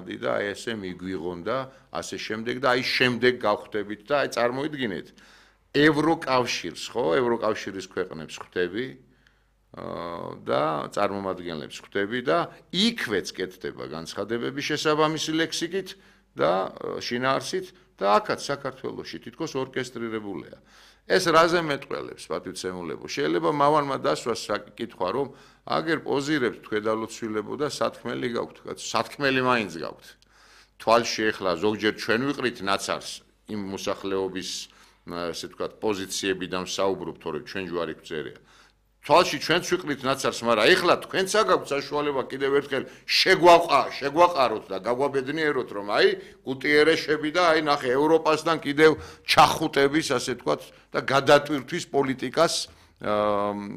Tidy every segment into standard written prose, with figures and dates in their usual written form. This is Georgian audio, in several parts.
ხმადი და აი ესე მიგვიღონ და ასე შემდეგ და აი შემდეგ გავხვდებით და აი წარმოიდგინეთ ევროკავშირს ხო ევროკავშირის ქვეყნებს ხვდები და წარმომადგენლებს ხვდები და იქვეც კეთდება განცხადებები შესაბამისი ლექსიკით და შინაარსით და აქაც საქართველოში თითქოს ორკესტრირებულია. ეს რაზე მეტყველებს პატივცემულებო? შეიძლება მავანმა დასვას საკითხვა რომ აგერ პოზირებთ თქვენდალოცვილებო და სათქმელი გაქვთ, სათქმელი მაინც გაქვთ. თვალში ეხლა ზოგჯერ ჩვენ ვიყრით ნაცარს იმ მოსახლეობის ასე ვთქვათ პოზიციებიდან ვსაუბრობ, თორემ ჩვენ ჯვარი გვწერია. თვალში ჩვენც ვიყრით ნაცარს, მაგრამ ეხლა თქვენც აგაქვთ საშუალება კიდევ ერთხელ შეგვაყაროთ და გაგვაბედნიეროთ, რომ აი გუტიერეშები და აი ნახე ევროპასთან კიდევ ჩახუტების, ასე ვთქვათ, და გადატვირთვის პოლიტიკას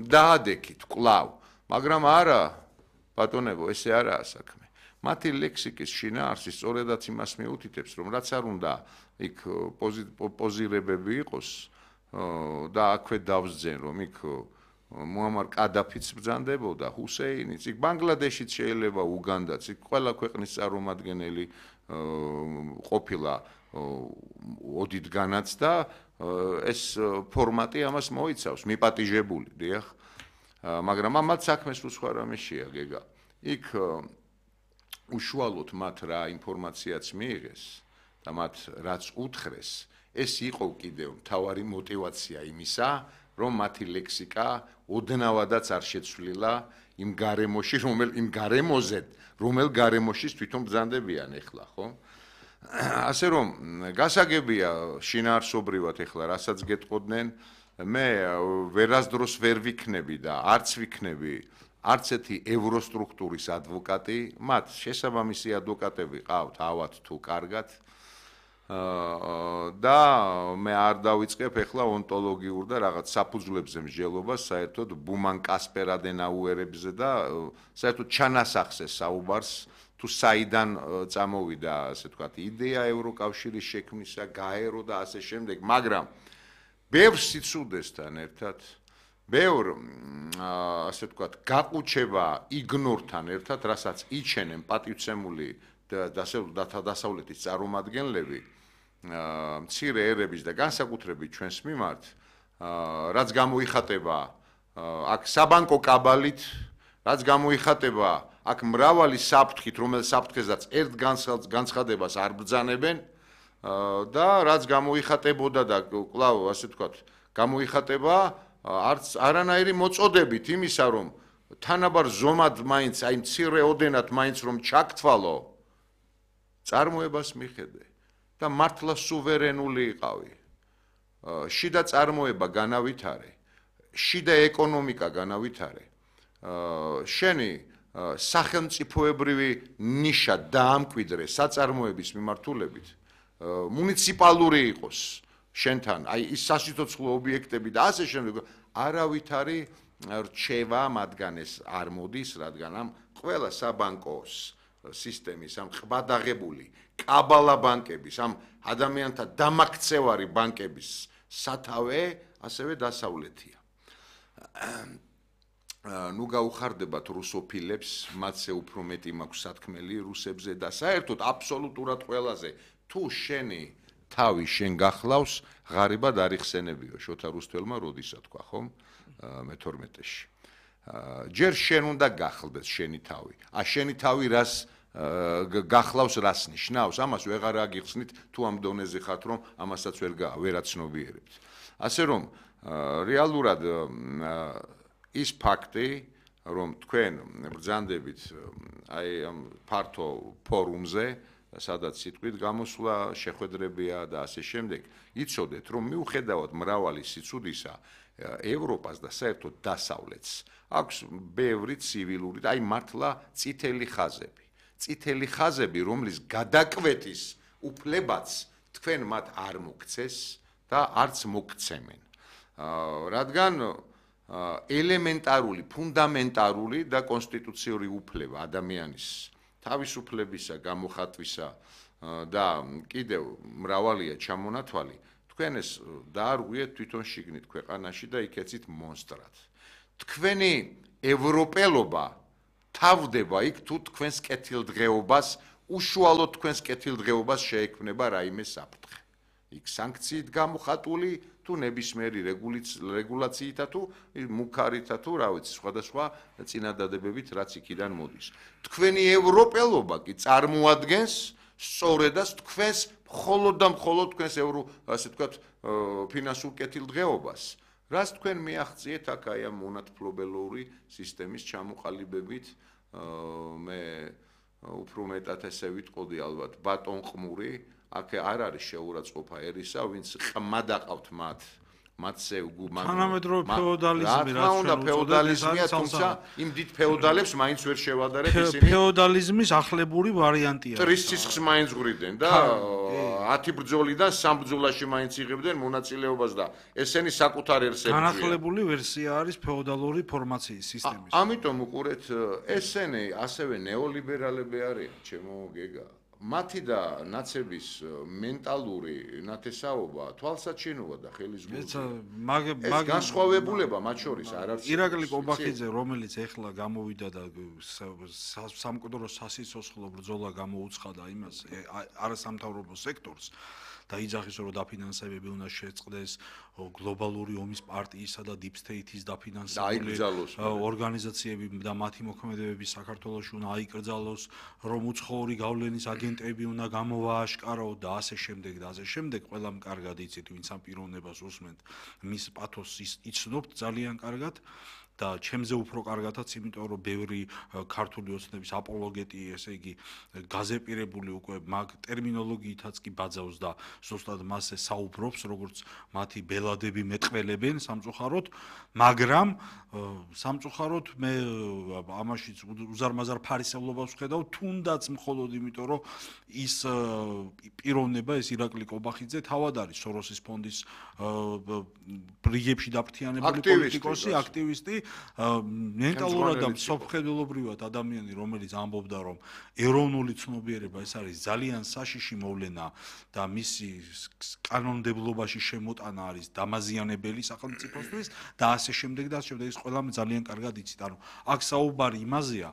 დაადექით კვლავ. მაგრამ არა, ბატონებო, ესე არაა საქმე. მათი ლექსიკის შინაარსი სწორედაც იმას მიუთითებს, რომ რაც არ უნდა იქ პოზირებები იყოს და აქვე დავსძენ, რომ იქ მუამარ კადაფიც ბრძანდებოდა, ჰუსეინიც, იქ ბანგლადეშიც შეიძლება უგანდაც, იქ ყველა ქვეყნის წარმომადგენელი ყოფილა ოდითგანაც და ეს ფორმატი ამას მოიცავს, მიპატიჟებული, დიახ. მაგრამ ამათ საქმეს უცხო რამე შეაგეგა. იქ უშუალოდ მათ რა ინფორმაციაც მიიღეს და მათ რაც უთხრეს, ეს იყო კიდევ მთავარი мотиваცია იმისა, რომ მათი ლექსიკა ოდნავადაც არ შეცვლილა იმ გარემოში, რომელ გარემოშიც თვითონ ბრძანდებიან ეხლა, ხო? ასე რომ გასაგებია შინაარსობრივად ეხლა რასაც გეტყოდნენ, მე ვერასდროს ვერ ვიქნები და არც ვიქნები არც ერთი ევროსტრუქტურის ადვოკატი, მათ შესაბამისი ადვოკატები ყავთ, ავად თუ კარგად. და მე არ დავიწყებ ეხლა ონტოლოგიურ და რაღაც საფუძვლებზე მსჯელობას, საერთოდ ბუმან კასპერადენაუერებზე და საერთოდ ჩანასახზე საუბარს, თუ საიდან წამოვიდა, ასე ვთქვათ, იდეა ევროკავშირის შექმნისა, გაერო და ასე შემდეგ, მაგრამ ბევრ სიცუდეს,თან ერთად, ბევრ, ასე ვთქვათ, გაყუჩება იგნორთან ერთად, რასაც იჩენენ პატივცემული დასავლეთის წარმომადგენლები, მცირე ერების და განსაკუთრებით ჩვენს მიმართ, რაც გამოიხატება აქ საბანკო კაბალით, რაც გამოიხატება აქ მრავალი საფრთხით, რომელ საფრთხეზეც ერთ განცხადებას არ ბრძანებენ და რაც გამოიხატებოდა და კვლავ ასე ვთქვათ, გამოიხატება არანაირი მოწოდებით იმისა, რომ თანაბარ ზომად მაინც, აი მცირე ოდენად მაინც რომ ჩაგთვალო, წარმოებას მიხედე და მართლა სუვერენული იყავი. შიდა წარმოება განავითარე, შიდა ეკონომიკა განავითარე. შენი სახელმწიფოებრივი ნიშა დაამკვიდრე საწარმოების მიმართულებით, მუნიციპალური იყოს შენთან, აი ის სასიცოცხლო ობიექტები და ასე შემდეგ, არავითარი რჩევა მათგან ეს არ მოდის, რადგან ამ ყველა საბანკოს სისტემის, ამ ყბადაღებული კაბალა ბანკების, ამ ადამიანთა დამაქცევარი ბანკების სათავე ასევე დასავლეთია. ნუ გაუხარდებათ რუსოფილებს, მათზე უფრო მეტი მაქვს სათქმელი რუსებზე და საერთოდ აბსოლუტურად ყველაზე თუ შენი თავი შენ გახლავს, ღარიბად არ იხსენებიო შოთა რუსთველმა როდისა თქვა, ხომ? მე-12-ში. ჯერ შენ უნდა გახლდეს შენი თავი. შენი თავი რას გახლავს, რას ნიშნავს, ამას ვეღარ აგიხსნით, თუ ამ დონეზე ხართ, რომ ამასაც ვერ აცნობიერებთ. ასე რომ რეალურად ის ფაქტი, რომ თქვენ ბრძანდებით აი ამ ფართო ფორუმზე, სადაც სიტყვით გამოსვლა შეხვედრებია და ასე შემდეგ, იცოდეთ, რომ მიუხედავად მრავალი სიცუდისა, ევროპას და საერთოდ დასავლეთს აქვს ბევრი ცივილური და აი მართლა წითელი ხაზები. წითელი ხაზები, რომლის გადაკვეთის უფლებაც თქვენ მათ არ მოგცეს და არც მოგცემენ. რადგან ელემენტარული, ფუნდამენტარული და კონსტიტუციური უფლება ადამიანის თავისუფლებისა, გამოხატვისა და კიდევ მრავალია ჩამონათვალი, თქვენ ეს დაარღვიეთ თვითონ შიგნით ქვეყანაში და იქეცით მონსტრად. თქვენი ევროპელობა თავდება იქ თუ თქვენს კეთილდღეობას უშუალოდ თქვენს კეთილდღეობას შეექმნება რაიმე საფრთხე. იქ სანქციით გამოხატული თუ ნებისმიერი რეგულაციითა თუ მუქარითა თუ რა ვიცი სხვადასხვა წინადადებებით რაც იქიდან მოდის. თქვენი ევროპელობა კი წარმოადგენს სწორედაც თქვენს მხოლოდ და მხოლოდ თქვენს ასე ვთქვათ ფინანსურ კეთილდღეობას. რას თქვენ მიაღწიეთ აქ აი ამ მონათფლობელური სისტემის ჩამოყალიბებით მე უფრო მეტად ესე ვიტყოდი ალბათ ბატონ ყმური აქ არ არის შეურაცხყოფა ერისა ვინც ყმა დაყავთ მათზე თანამედროვე ფეოდალიზმი რა უნდა ფეოდალიზმია თუმცა იმ დიდ ფეოდალებს მაინც ვერ შევადარებ ისინი ფეოდალიზმის ახლებური ვარიანტია ტრის სისხლს მაინც ღვრიდნენ და 10 ბრძოლიდან 3 ბრძოლაში მაინც იღებდნენ მონაწილეობას და ესენი საკუთარ ერს ებრძვიან განახლებული ვერსია არის ფეოდალური ფორმაციის სისტემის ამიტომ უყურეთ ესენი ასევე ნეოლიბერალები არიან ჩემო გეგა მათი და ნაცების მენტალური ნათესაობა თვალსაჩინოა და ხელისგულა. ეს განსხვავებულება მათ შორის არ არის. ირაკლი კობახიძე, რომელიც ეხლა გამოვიდა და სამკვდრო სასიცოცხლო ბრძოლა გამოუცხადა იმას არასამთავრობო სექტორს და იძახის რომ დაფინანსებები უნდა შეწყდეს გლობალური ომის პარტიისა და deep state-ის დაფინანსებული ორგანიზაციები და მათი მოქმედებები საქართველოში უნდა აიკრძალოს, რომ უცხოური გავლენის აგენტები უნდა გამოვააშკარო და ასე შემდეგ და ასე შემდეგ. ყველამ კარგად იცით, ვინც ამ პიროვნებას უსმენთ, მის პათოსს იცნობთ ძალიან კარგად. და ჩემზე უფრო კარგადაც, იმიტომ რომ ბევრი ქართული ოცნების აპოლოგეტი, ესე იგი, გაზეპირებული უკვე მაგ ტერმინოლოგიითაც კი ბაძავს და ზუსტად მასზე საუბრობს, როგორც მათი ბელადები მეტყველებენ სამწუხაროდ, მაგრამ სამწუხაროდ მე ამაშიც უზარმაზარ ფარისევლობას ვხედავ, თუნდაც მხოლოდ იმიტომ, რომ ის პიროვნება, ეს ირაკლი კობახიძე თავად არის სოროსის ფონდის რიგებში დაფრთიანებული პოლიტიკოსი, აქტივისტი მენტალურად და სოფხედელობრივად ადამიანი, რომელიც ამბობდა, რომ ეროვნული ცნობიერება ეს არის ძალიან საშიში მოვლენა და მისი კანონმდებლობაში შემოტანა არის დამაზიანებელი სახელმწიფოსთვის და ასე შემდეგ და ასე შემდეგ ის ყველამ ძალიან კარგად იცით. ანუ აქ საუბარი იმაზეა,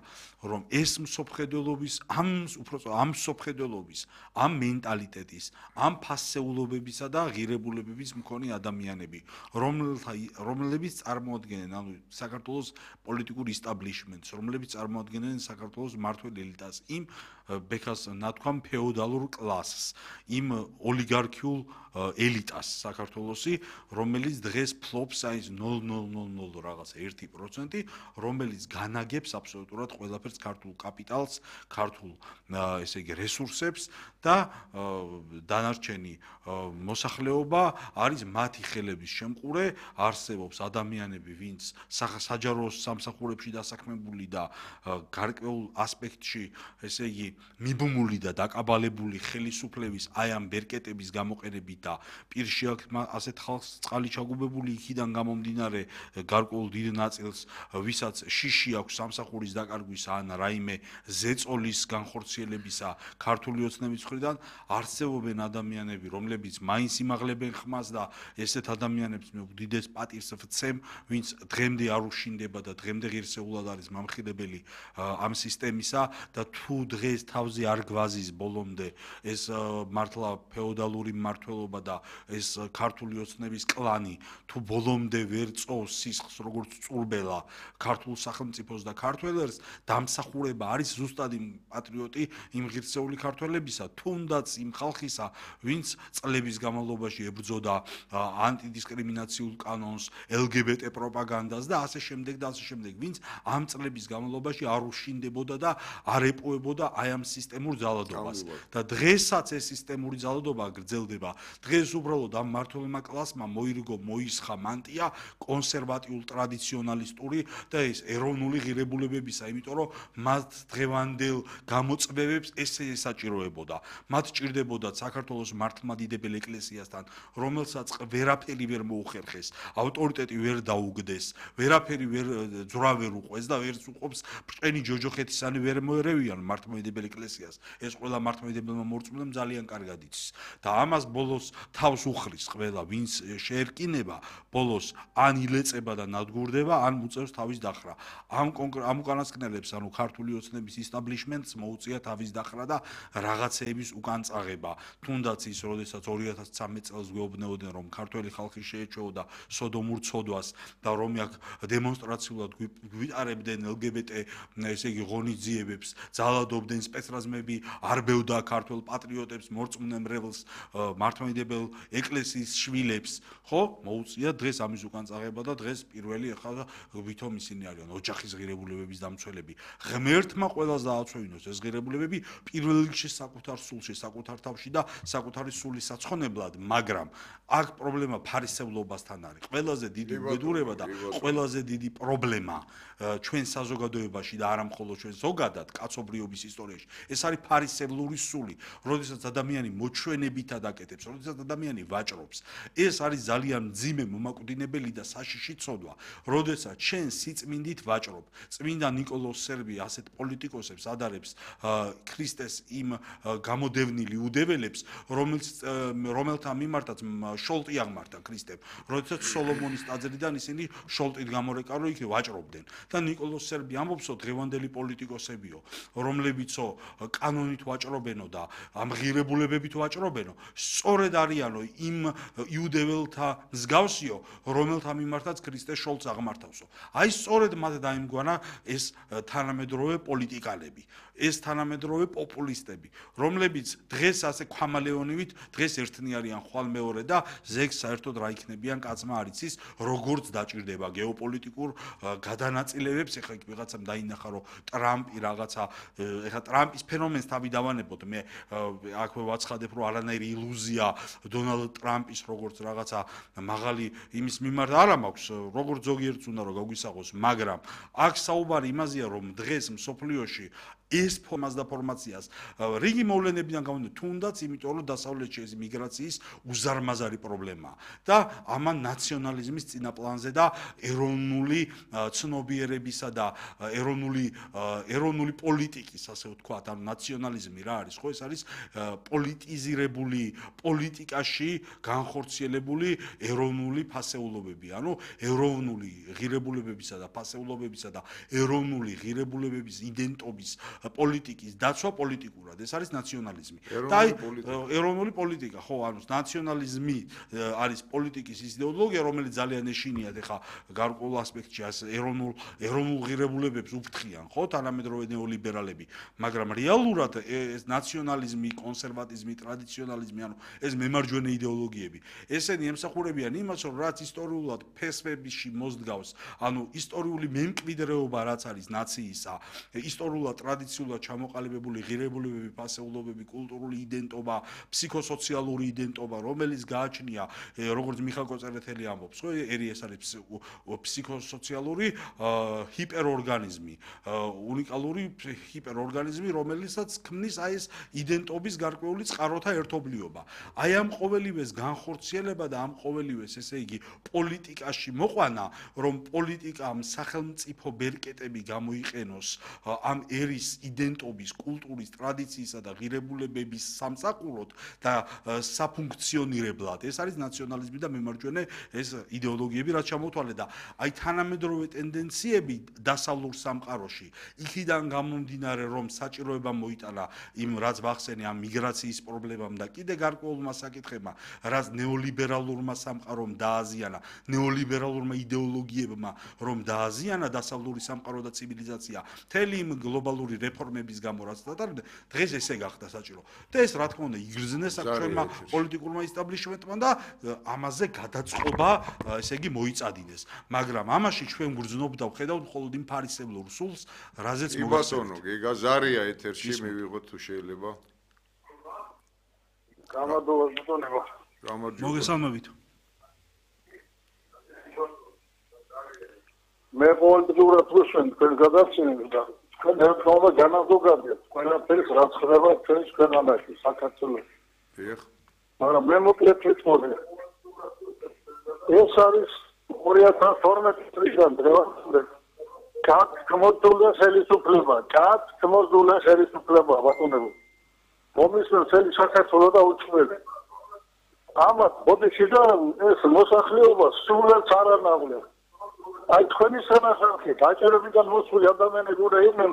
რომ ეს მსოფხედელობის ამ მსოფხედელობის, ამ მენტალიტეტის, ამ ფასეულობებისა და ღირებულებების მქონე ადამიანები, რომლებიც წარმოადგენენ ანუ საქართველოს პოლიტიკურ ისტაბლიშმენტს, რომლებიც წარმოადგენენ საქართველოს მმართველ ელიტას, იმ ბექას ნათქვამ ფეოდალურ კლასს, იმ ოლიგარქიულ ელიტას საქართველოსი, რომელიც დღეს ფლობს აი 0.000 რაღაც 1%, რომელიც განაგებს აბსოლუტურად ყველაფერს ქართულ კაპიტალს, ქართულ ესე იგი რესურსებს და დანარჩენი მოსახლეობა არის მათი ხელების შემყურე, არსებობს ადამიანები, ვინც საჯარო სამსახურებში დასაქმებული და გარკვეულ ასპექტში, ესე იგი, მიბმული და დაკაბალებული ხელისუფლების აი ამ ბერკეტების გამოყენებით და პირში ასეთ ხალხს წყალი ჩაგუბებული იქიდან გამომდინარე გარკვეულ დიდ ნაწილს, ვისაც შიში აქვს სამსახურის დაკარგვისა ან რაიმე ზეწოლის განხორციელებისა ქართული ოცნების მხრიდან, არსებობენ ადამიანები, რომლებიც მაინც იმაღლებენ ხმას და ესეთ ადამიანებს მე უდიდეს პატივს ვცემ, ვინც დღემდე არ უშინდება და დღემდე ღირსეულად არის მამხილებელი ამ სისტემისა და თუ დღეს თავზე არ გვაზის ბოლომდე ეს მართლა ფეოდალური მმართველობა და ეს ქართული ოცნების კლანი თუ ბოლომდე ვერ წოვს სისხლს როგორც წურბელა ქართულ სახელმწიფოს და ქართველებს დამსახურება არის ზუსტად იმ პატრიოტი იმ ღირსეული ქართველებისა თუნდაც იმ ხალხისა ვინც წლების განმავლობაში ებრძოდა ანტიდისკრიმინაციულ კანონს LGBT პროპაგანდას და ასე შემდეგ და ასე შემდეგ ვინც ამ წლების განმავლობაში არ უშინდებოდა და არ ეპოვებოდა აი ამ სისტემურ ძალადობას და დღესაც ეს სისტემური ძალადობა გრძელდება დღეს უბრალოდ ამ მმართველმა კლასმა მოირგო მოისხა მანტია კონსერვატიულ ტრადიციონალისტური და ეს ეროვნული ღირებულებებისა იმიტომ რომ მათ დღევანდელ გამოწვევებს ესე ესაჭიროებოდა მათ ჭირდებოდა საქართველოს მართლმადიდებელ ეკლესიასთან რომელსაც ვერაფერი ვერ მოუხერხეს ავტორიტეტი ვერ დაუგდეს ვერაფერი ვერ ძრავერ უყვეს და ვერც უყოფს ბრჭყენი ჯოჯოხეთისანი ვერ მოერევიან მართლმადიდებელ ეკლესიას ეს ყველა მართლმადიდებელმა მორწმუნემ ძალიან კარგად იცის და ამას ბოლოს თავს უხრის ყველა ვინც შეერკინება ბოლოს ან ილეწება და ნადგურდება ან უწევს თავის დახრა ამ უკანასკნელებს ანუ ქართული ოცნების ისტაბლიშმენტს მოუწია თავის დახრა და რაღაცეების უკან წაღება თუნდაც ის როდესაც 2013 წელს გვეუბნებოდნენ რომ ქართველი ხალხი შეეჩვეოდა სოდომურ ცოდვას და რომ აქ დემონსტრაციულად გვიტარებდნენ LGBT ესე იგი ღონისძიებებს ძალადობდნენ სპეცრაზმები არბევდა ქართულ პატრიოტებს მორწმუნე მრევლს მართლმადიდებელ ეკლესიის შვილებს ხო მოუწია დღეს ამის უკან წაღება და დღეს პირველი ახლა ვითომ ისინი არიან ოჯახის ღირებულებების დამცველები ღმერთმა ყველას დააცვევინოს ეს ღირებულებები პირველ რიგში საკუთარ სულში საკუთარ თავში და საკუთარი სულის საცხონებლად მაგრამ აქ პრობლემა ფარისევლობასთან არის ყველაზე დიდი უბედურება და ყველაზე დიდი პრობლემა ჩვენ საზოგადოებაში და არა მხოლოდ ჩვენ ზოგადად კაცობრიობის ისტორიაში ეს არის ფარისევლური სული როდესაც ადამიანი მოჩვენებითად აკეთებს როდესაც ადამიანი ვაჭრობს ეს არის ძალიან მძიმე მომაკვდინებელი და საშიში ცოდვა როდესაც ჩვენ სიწმინდით ვაჭრობ წმინდა ნიკოლოზ სერბი ასეთ პოლიტიკოსებს ადარებს ქრისტეს იმ გამოდევნილი უდეველებს რომელთა მიმართაც შოლტი აღმართა ქრისტემ როდესაც სოლომონის ტაძრიდან ისინი შოლტით გამორეკარო იქ ვაჭრობდნენ და ნიკოლოზ სერბი ამბობსო დღევანდელი პოლიტიკოსებიო რომლებიცო კანონით ვაჭრობენო და ამ ღირებულებებით ვაჭრობენო სწორედ არიანო იმ იუდეველთა მსგავსიო რომელთა მიმართაც ქრისტე შოლტს აღმართავსო აი სწორედ მათ დაიმგვანა ეს თანამედროვე პოლიტიკალები ეს თანამედროვე პოპულისტები რომლებიც დღეს ასე ქვამალეონივით დღეს ერთნი არიან ხვალ მეორე და ზეგს საერთოდ რა იქნებიან კაცმა არ იცის როგორც დაჭირდება გეოპოლიტიკურ გადანაწილებებს ეხლა იქ ვიღაცამ დაინახა რომ ტრამპი რაღაცა ეხლა ტრამპის ფენომენს თავი დავანებოთ მე აქვე ვაცხადებ რომ არანაირი ილუზია დონალდ ტრამპის როგორც რაღაცა მაღალი იმის მიმართ არა მაქვს როგორც ზოგიერთს უნდა რომ გაგვისაღოს მაგრამ აქ საუბარი იმაზეა რომ დღეს მსოფლიოში ეს ფორმას და ფორმაციას რიგი მოვლენებიდან გამომდინარე თუნდაც იმიტომ რომ დასავლეთში ეს მიგრაციის უზარმაზარი პრობლემაა და ამან ნაციონალიზმის წინაპლანზე და ეროვნული ცნობიერებისა და ეროვნული პოლიტიკის ასე ვთქვათ ანუ ნაციონალიზმი რა არის ხო ეს არის პოლიტიზირებული პოლიტიკაში განხორციელებული ეროვნული ფასეულობები ანუ ეროვნული ღირებულებებისა და ფასეულობებისა და ეროვნული ღირებულებების იდენტობის პოლიტიკის დაცვა პოლიტიკურად ეს არის ნაციონალიზმი და ეროვნული პოლიტიკა ხო ანუ ნაციონალიზმი არის პოლიტიკის ის იდეოლოგია რომელიც ძალიან ეშინიათ ეხა გარკვეულ ასპექტში ეროვნულ ღირებულებებს უფრთხიან ხო თანამედროვე ნეოლიბერალები მაგრამ რეალურად ეს ნაციონალიზმი კონსერვატიზმი ტრადიციონალიზმი ანუ ეს მემარჯვენე იდეოლოგიები ესენი ემსახურებიან იმას რომ რაც ისტორიულად ფესვებში მოსდგავს ანუ ისტორიული მემკვიდრეობა რაც არის ნაციისა ისტორიულად ტრადიციულად ჩამოყალიბებული ღირებულებები, ფასეულობები, კულტურული იდენტობა, ფსიქოსოციალური იდენტობა, რომელიც გააჩნია, როგორც მიხაილ კოწერეთელი ამბობს, ხო, ეს არის ფსიქოსოციალური ჰიპერორგანიზმი, უნიკალური ჰიპერორგანიზმი, რომელიცაც ქმნის აი ეს იდენტობის გარკვეული წყაროთა ერთობლიობა. აი ამ ყოველივეს განხორციელება და ამ ყოველივეს, ესე იგი, პოლიტიკაში მოყვანა, რომ პოლიტიკამ სახელმწიფო ბერკეტები გამოიყენოს ამ ერის იდენტობის, კულტურის, ტრადიციისა და ღირებულებების სამსახუროდ და საფუნქციონირებლად. ეს არის ნაციონალიზმი და მემარჯვენე ეს იდეოლოგიები, რაც ჩამოთვალე და აი თანამედროვე ტენდენციები დასავლურ სამყაროში, იქიდან გამომდინარე, რომ საჭიროება მოიტანა იმ რაც ვახსენე ამ მიგრაციის პრობლემამ და კიდე გარკვეულმა საკითხებმა, რაც ნეოლიბერალურმა სამყარომ დააზიანა, ნეოლიბერალურმა იდეოლოგიებმა, რომ დააზიანა დასავლური სამყარო და ცივილიზაცია, მთელი იმ გლობალური რეფორმების გამო რაც დატარებდა, დღეს ესე გახდა საჭირო. და ეს რა თქმა უნდა იგრძნეს საქმეებმა პოლიტიკურმა ისტაბლიშმენტმა და ამაზე გადაწყობა, ესე იგი მოიწადინეს. მაგრამ ამაში ჩვენ გრძნობ და ვხედავთ მხოლოდ იმ ფარისევლურ სულს, რაზეც მოგასწონო, გიგაზარია ეთერში მივიღოთ თუ შეიძლება. გამარჯობა ბატონო. მოგესალმებით. მე პოლიტიკურად ვუსვენ თქვენ გადაცემებს და თქვენ ერთობა განაზოგადეთ ყველაფერს რაც ხდება ჩვენს ქვეყანაში საქართველოში. დიახ. მაგრამ მე მოკლედ ვიტყოდი. ეს არის 2012 წლიდან დღევანდელ გმოძულა ხელისუფლება, გმოძულა ხელისუფლება, ბატონებო. მომისმენთ წელი საქართველოს და უჩვენე. ამათ ბოდიშიდა ეს მოსახლეობა სულაც არ ანავლებს. აი თქვენი სანახავი დაჭერებიდან მოსული ადამიანები უნდა იყვნენ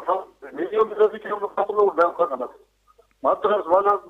მილიონობით კილომეტრów დაახლოებით. მათ დროს